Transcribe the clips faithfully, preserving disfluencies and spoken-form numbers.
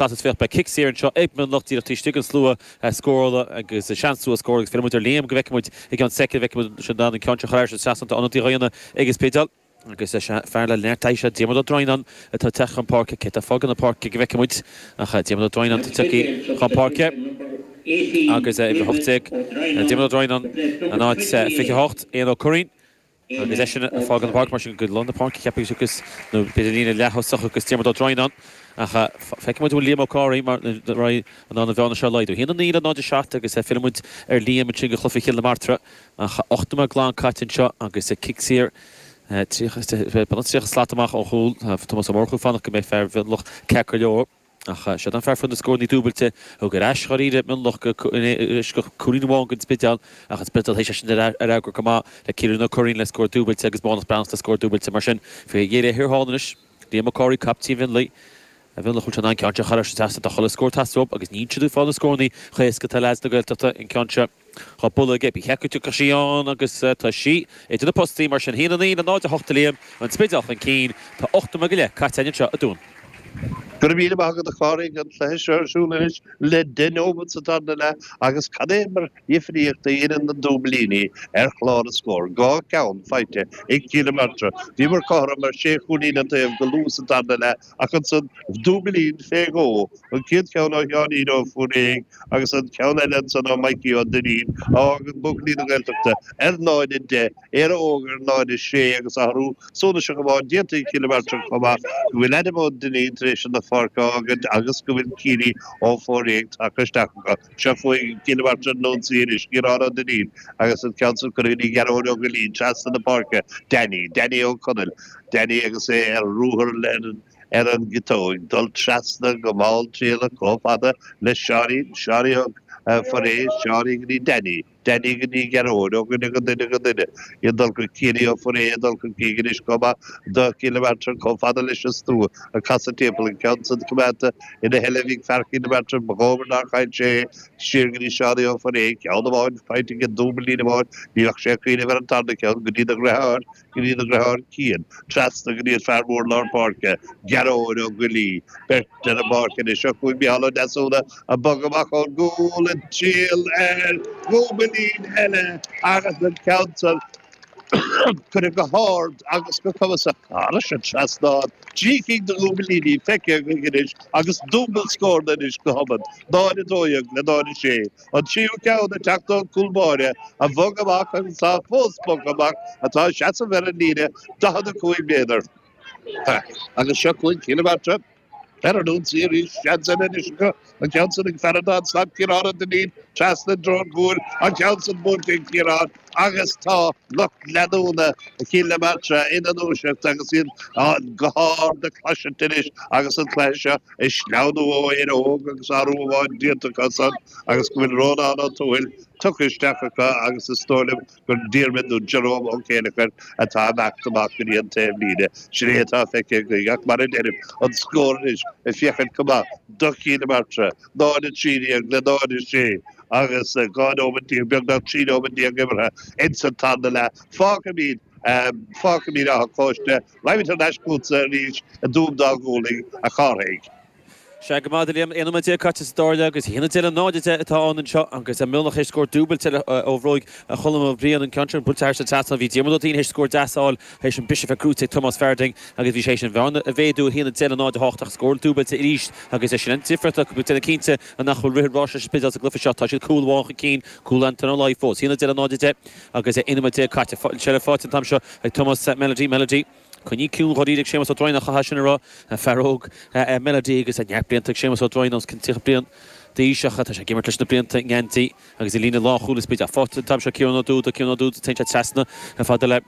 Is féach beidh cic saor anseo ag Mionlach díreach taobh istigh den slua scórála agus seans slua scórála agus fillfidh muid ar Liam go bhfeicfidh muid i gceann soicind bhfeicfidh muid sin an ceann seo chur ar an ionadaí dhaonna ag an Spidéal. Agus fear le neart taithí seo Diarmuid Ó Droighneáin atá ag teacht chun páirce cé atá ag fágáil na páirce go bhfeicfidh muid ach Diarmuid Ó Droighneáin atá ag teacht chun páirce agus uimhir a hocht déag Diarmuid Ó Droighneáin in áit fiche a hocht Éanna Ó Curraoin. Agus eisean ag fágáil na páirce mar sin go lár na páirce cheapfainn agus nó b'fhéidir líne leath-thosach agus Diarmuid Ó Droighneáin ach feicfidh muid an bhfuil Liam Ó Comhraí mar in ann an bhearna seo a laghdú. Haon a naoi le náid a seacht agus fillfidh muid ar Liam ansin go cluiche Chill na Martra ach ocht nóiméad glan caite anseo agus cic saor tríocha slat amach ó chúl Tomás Ó Murchú ag fanacht go mbeidh fear Mhionlach ceart go leor. Ach siod an fear a fuair na scóranna dúbailte a thug ar ais dháiríre Mionlach go cúilín amháin don Spidéal ach an Spidéal théis é sin a fhreagairt go maith le Ciarán Ó Curraoin le scór dúbailte agus Mánus Breathnach le scór dúbailte. Mar sin, faoi dheireadh thiar thall anois, Liam Ó Comhraí, captaen Mhionlaigh, a Mhionlach bhfuil sé in ann ceann seo a chur thar an trasnán. Tá chuile scór ag teastáil uathu agus níl siad ag fáil na scóranna chomh héasca atá leaids na Gaeltachta an ceann seo. Dhá bualadh aige, ba cheart go dtiocfadh sí ann agus tá sí idir na postaí, mar sin haon a naoi le náid a hocht a Liam, an Spidéal chun cinn, tá ocht nóiméad go leith caite againn anseo i dTuaim. Go raibh míle maith agat a Chárthaigh, an cluiche seo ar siúl anois le deich neomat sa tarna leath agus cad é mar dhifríocht a dhéanann na dúiblíní ar chlár na scór, dhá cheann faighte ag Cill na Martra. Bhíomar cothrom ar sé chúilín an taobh go luath sa tarna leath ach ansan dúiblín fé dhó, an chéad cheann ó Sheáinín Ó Fóirréidh agus an ceann eile ansan ó Mikey Ó Duinnín a fhágann buachaillí na Gaeltachta ar náid a deich, Éire Óg ar náid a sé agus athrú suntasach amháin déanta ag Cill na Martra chomh maith, go bhfuil Adam Ó Duinnín tar éis an pháirc a fhágaint agus go bhfuil Ciaraí Ó Fóirréidh tagtha isteach acu. Seo chugainn Cill na Martra ar an ionsaí anois, Ciarán Ó Duinnín agus an ceann san curtha go dtí Gearóid Ó Goillín trasna na páirce, Danny, Danny Ó Conaill, Danny agus é ar ruathar ar an gciotóig, dul trasna go mall trialach chomh fada le Seáinín, Seáinín Ó Foirréidh, Seáinín go dtí Danny. Danny go dtí Gearóid, ó dhuine go duine go duine, ag dul go Ciaraí Ó Foirréidh, ag dul chun cinn anois chomh maith do Chill na Martra, chomh fada leis an stua ag casadh timpeall, an ceann san coimeádta ina sheilbh ag fear Chill na Martra, ba dhóbair nár chaill sé é, siar go dtí Seánie Ó Foirréidh, ceann amháin faighte aige, dúbailín amháin, ní bheadh sé ag cuimhneamh ar an tarna ceann go dtí na dheartháir. go dtí na dheartháir Cian, trasna go dtí an fear mór lár páirce, Gearóid Ó Goillí, beirt ar an bpáirc anois. Seo chugainn Micheál Ó Deasúna ag bogadh amach ón gcúl ag triall ar dhúbailín eile agus an ceann san curtha go hard agus go cumasach thairis an trasnán. Trí cinn de dhúbailíní feicthe againn anois agus dúbailt scóranna anois go hobann, náid a dó dhéag le náid a sé. An tríú ceann ag teacht ón gcúl báire a bhog amach agus atá fós bogtha amach, atá ag seasamh ar an líne daichead a cúig méadar. Agus seo chugainn Cill na Martra ar an ionsaí arís. Seans eile anois acu. An ceann san ag fear an dá slat, Ciarán Ó Duinnín, trasna i dtreo an chúil. An ceann san buailte ag Ciarán agus tá lucht leanúna Chill na Martra ina ndúiseacht agus iad go hard ag cloisint anois agus an cluiche seo ag sleamhnú ó Éire Óg agus athrú amháin déanta acu san agus go bhfuil Rónán Ó Tuathail tugtha isteach acu agus is dóigh liom gur Diarmuid nó Jerome Ó Céileachair atá ag imeacht amach go dtí an taobh líne. Sin é atá feicthe againn ach mar a deirim, an scór anois ag féachaint go maith do Chill na Martra, náid a trí déag le náid a sé agus dhá nóiméad déag, beagnach trí nóiméad déag imeartha ins an tarna leath. Fágfaimid, fágfaimid Áth an Chóiste. Raghaimid thar n-ais chugatsa arís i dTuaim Dá Ghualainn, a Chárthaigh. Sea, go maith, a Liam. Aon nóiméad déag caite sa dara leath agus a haon a deich le náid a deich atá ann anseo agus Mionlach théis scór dúbailte eile ó bhróig Cholm Ó Briain, an ceann sin buailte thairis an trasnán. Bhí Diarmuid Ó Duinn théis scór deas a fháil théis an briseadh a bheith gnóite ag Tomás Farthing agus bhí sé théis an bhearna a mhéadú, a haon a deich le náid a hocht ach scór dúbailte arís agus é sin an difríocht acu. Déanamh cinnte nach bhfuil rith an ráis leis an Spidéal sa gcluiche seo. Tá siad cúl amháin chun cinn, cúl Anton Ó Laoi fós. A haon a deich le náid a deich agus aon nóiméad déag caite. Seilbh faighte an t-am seo ag Tomás Melody. Melody. Coinnithe ciúin dháiríre ag Séamus Ó Droighneáin, chaithfeá sin a rá. Fear óg é Melody agus neart blianta ag Séamus Ó Droighneáin, os cionn tríocha bliain d'aois ach tá sé ag imirt leis na blianta i ngeansaí agus i líne lánchúil an Spidéil. Faighte an t-am seo Ciarán Ó Dúda, Ciarán Ó Dúda, téann sé trasna fada le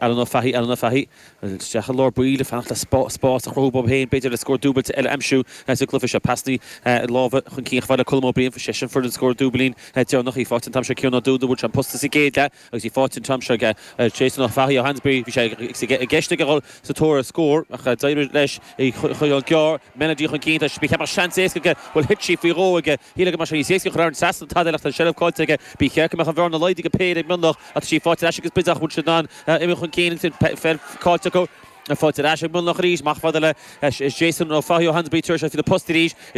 Alan Ó Fathaigh, Alan Ó Fathaigh isteach i lár baill ag fanacht le spás a chruthú dóibh féin, b'fhéidir le scór dúbailte eile a aimsiú sa gcluiche seo. Pasanna láimhe chun cinn chomh fada le Colm Ó Briain, seisean a fuair an scór dúbailín deireanach. Í faighte an t-am seo Ciarán Ó Dúda, bhuail sé an posta sa gcéad leath. Agus í faighte an t-am seo ag Jason Ó Fathaigh ó Hansberry, bhí sé i gceist aige dhul sa tóir ar scór ach d'éirigh leis í a choinneáil gearr. Melody chun cinn, tá sé, cheapfá seans éasca aige, bhuel thit sí faoi dhó aige. Shílfeá go mbeadh sé níos éasca a chur thar an trasnán tada eile ach tá an tseilbh caillte aige. Ba cheart go mbeadh an bhearna laghdaithe go péire ag Mionlach ach tá sí faighte ar ais ag an Spidéal ach bhfuil siad in ann imeacht chun cinn ansin, peil caillte acu. Faighte ar ais ag Mionlach arís amach fada le Jason Ó Fathaigh ó Hansbury tar sé faoi na post arís is